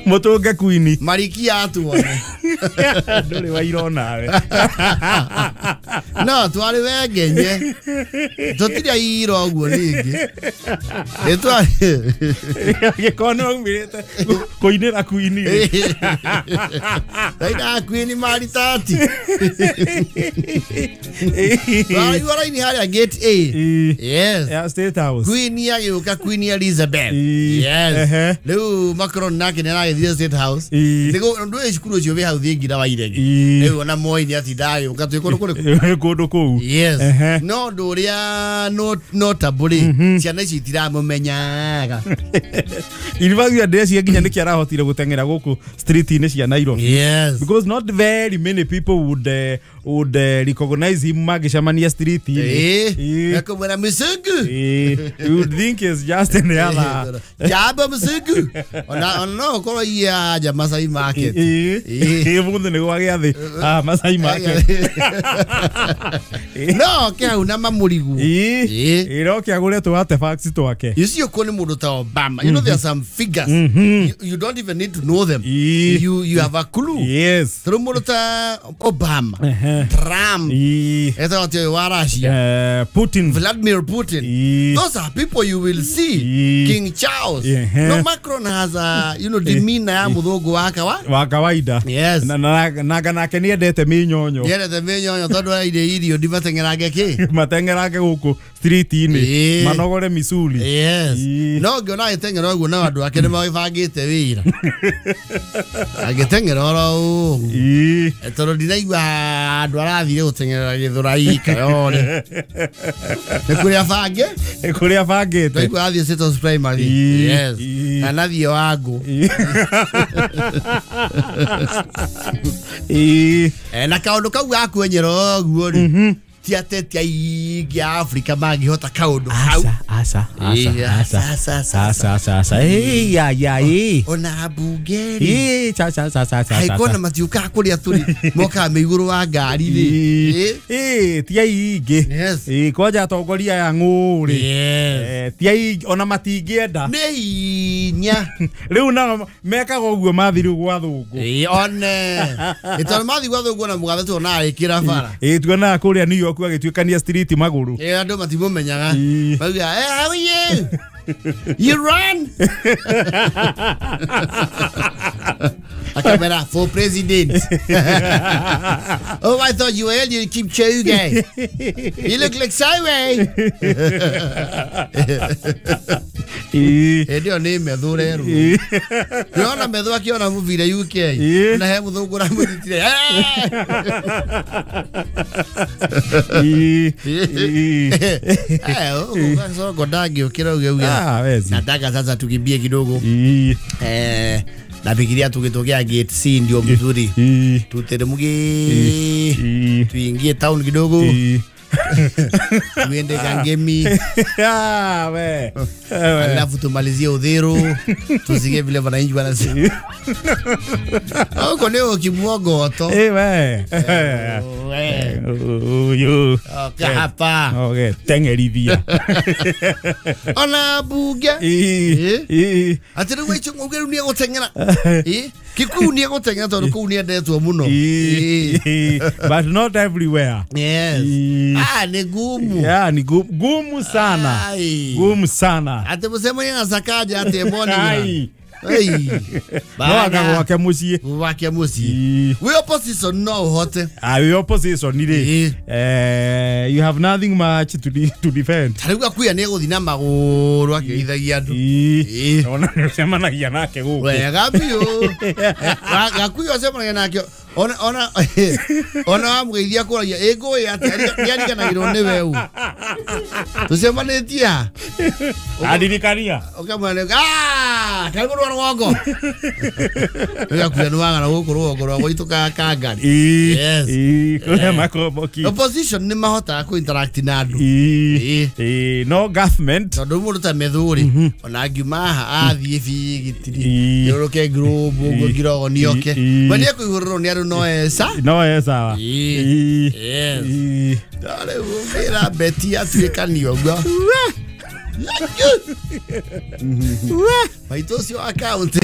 Mutunge Queen Marikia atuone. Nduri wairo nawe. No twari wengenye. Tutiri airo uguo ringi. Itwari gikono aumirite kuinira Queen. Raina Queen maritati. Twari raini haria gate A. Yes. Yeah, State House. Queen ya Queen Elizabeth. Yes. Riu Macron nake ni aragithire State House. Nigo ndu cukuru ucio wi hau thingira wa Iregi. Riu ona Moi ni atindaga agiuka twi kundu kuriku. Kundu kuu. Yes. No ndu uria notable ciana ici itiramumenyaga. Irivagia ndeci nginya niki arahotire guteng'era guku street-ini cia Nairobi. Yes. Because not very many people would recognize him magicemania street-ini. Nakumwira msungu. You would think it's just any other. Jabo msungu. Ona no korwo iya ja Masai Market. Mundu ni gwa giathi. Ah, Masai Market. No, kia una mamurigu. Iro kia gure tu artifacts twake. You see uko ni mundu ta Obama. You know there are some figures. You don't even need to know them. You have a clue. Yes. Through mundu ta Obama, Trump, eta watu wa Russia, Putin, Vladimir Putin. Those are people you will see. King Charles. No, Macron has a demeanor ya muthungu wa kawaida. Yes. Na nake ni endete minyonyo. Endete minyonyo tondu aire irio ndimateng'erange ki. Mateng'erange guku street-ini. Manogore misuli. Yes. No ngiona agiteng'era uguo na andu ake ni magibangite wira. Agiteng'era oro uguo. Tondu ndiraigua andu arathire guteng'erera Githurai Kayole. Ni kuria bange? Ni kuria bangite. Ndaigua athie State House Primary. Yes. Kana thiĩ wangu. Na kaundu kau ga kwenyera ũguo rĩ, ti ateti aingĩ a Afrika mangĩhota kaundu hau. Aca aca aca aca aca aca. Ya ya ona mbunge rĩ. Cha cha cha cha cha. Haikona matiũkaga kũrĩa tũrĩ mokaga me igũrũ wa ngari rĩ. Ti aingĩ. Yes. Kwanja atongoria aya ng'ũ rĩ. Yes. Ti aingĩ ona matingĩenda. Nĩ hinya. Rĩu nao mekaga ũguo mathi rĩu gwa thũngũ. One. Tondũ mathi gwa thũngũ na mũgathe tuonaga agĩkĩra bara. Tuonaga kũrĩa New York agĩtuĩkania street magũrũ. Andũ matimũmenyaga. Mauga, hey, how are you? You run? Akamera for president. Oh, I thought you were Eliud Kipchoge. You look like Sawe. Hĩndĩ ĩyo nĩ methu rerwo. Nĩwona methu akĩona mũbira UK. Na he mũthũngũ ũramũnyitire. Sonko ndangĩũkĩra uge uge. Nataka sasa tukimbie kidogo. Nafikiria tukitokea gate C ndio mzuri. Tuteremke tuingie town kidogo. Tuende Kangemi. We. Alafu tumalizie Uthiru. Tusikie vile wananchi wanasema. Huko leo kimwogoto. We. Uyu. Hapa. Okay, tengerithia. Ona bunge. Ati riu icio uge riu ni eguteng'era. Kikuyu ni eguteng'era tondu kuu ni endetwo muno. But not everywhere. Yes. Ah, ni gumu. Yeah, ni gumu sana. Gumu sana. Ati mucemanie na Sakaja ati eboni. No anga gwake muciĩ. Gwake muciĩ. Wi opposition no uhote. Ah, wi opposition rĩ. You have nothing much to defend. Ta rĩu Akuya nĩ egũthiĩ na magũrũ akĩgeithagia andũ. Ona nĩ ũcemanagia nake gũkũ. Wega biũ. Gakuya ũcemanagia nake. Ona ona wamũgeithia kũragia ĩ ngũĩ atĩa nĩariganagĩrwo nĩ weũ. Tũcemanĩtie ha? Andirikania. Ũkamwĩra ah, karibu rwa rwongo. Gakuya nĩ wagana gũkũ rwongo rwa gwitũ Kangari. Yes. Kũrĩa makomboki. Opposition nĩ mahotaga kũ interact na andũ. No government. Tondũ mũndũ ta Methuri ona angiuma haha athiĩ Bigitiri yũrũke Globe ũguo Ngirogo nĩoke. We nĩekũihũrĩrwo nĩ andũ no esa. No esa. Yes. Rĩu wĩra Beti atuĩkanio ũguo. Maitũ ũcio wa kaũntĩ.